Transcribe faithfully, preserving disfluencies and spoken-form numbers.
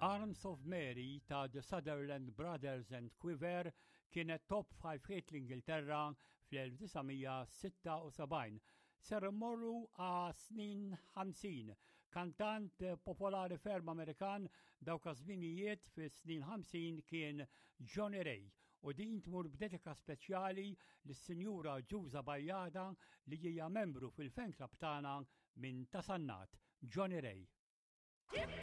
Arms of Mary ta' The Sutherland Brothers and Quiver kienet top five hit l-Ingilterra fl-elf disa' mija sitta u sebgħin. Ser immorru għas-snin ħamsin. Kantant popolari ferm Amerikan dawk iż-żminijiet fis-snin ħamsin kien Johnny Ray u din tmur b'dedika speċjali lis-Sinjura Ġuża Bajjada li hija membru fil-fan club tagħna minn Ta' Sannat. Johnny Ray.